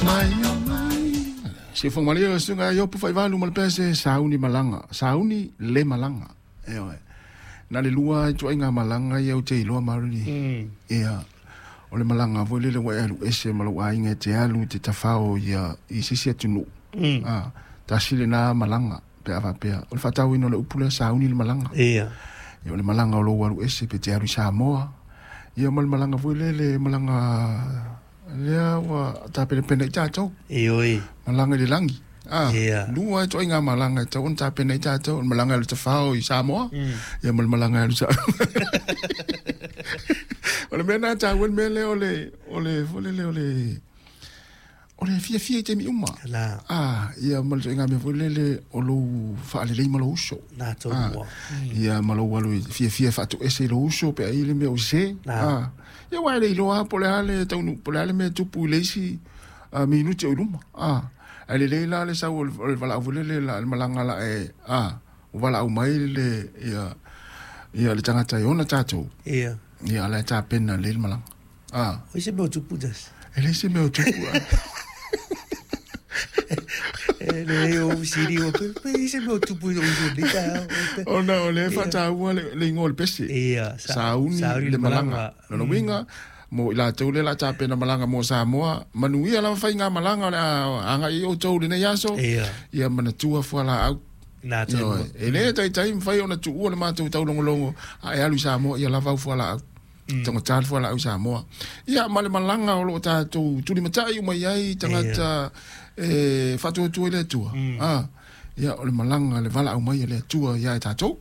Mai o mai. Siufogomalie o susuga Iopu Faivalu ma le pese sauni malaga, sauni le malaga. Ioe. Na le lua ituaiga malaga ia ou te iloa Marily. Ia. O le malaga foi lele ua e alu ese ma lou aiga e te alu i te tafao ia i se isi atunuu. A, tasi lena malaga pe a faapea. O le faatauaina o le upu lea sauni le malaga. Ia. Ia o le malaga o lou alu ese pe te alu i Samoa. Ia ma le malaga foi lele malaga lea ua tapenapena i tatou. Ioe. Malaga i le lagi. Ah, Ia. lua ituaiga malaga e tatau ona tapena ai tatou, o le malaga e alu tafao i Samoa, ia ma le malaga e alu sa. O le mea lena e taua le mea lea o le o le foi lele o le o le fiafia i taimi uma. La. Ah, ia ma le ituaiga mea foi lele o lou faalelei ma lou uso. Na tonu Ah, ia ma lou alu i fiafia e faatoese i lou uso pe a i ai le mea o sese. La. Ah, ia aua e le iloa lava po o le a le taunuu po o le a le mea e tupu i le isi minute o i luma. A, ae lelei la le sau o le valaau foi lele la le malaga la e a ua valaau mai le ia ia le tagata e ona tatou. Ia. Ia la e tapena lelei le malaga. A. O se mea o tupu tas. E leai se mea o tupu. E le o siri o pe pe se mea o tupu i o le ta. Ona o lea e faataua le igoa o le pese. Ia, sauni le malaga. Lona uiga, mo i latou lea o le a tapena malaga mo Samoa, manuia lava faigamalaga o le a agai ai outou i lenei aso. Ia. Ia manatua fualaau. Na tonu. Ioe. E le taitai mafai ona tuua le matou taulogologo a e alu i Samoa, ia lava au fualaau. Taugata le fualaau i Samoa. Ia, ma le malaga o lo o tatou tulimatai uma i ai tagata e faatuatua i le Atua. A, ia, o le malaga, le valaau mai a le Atua ia i tatou.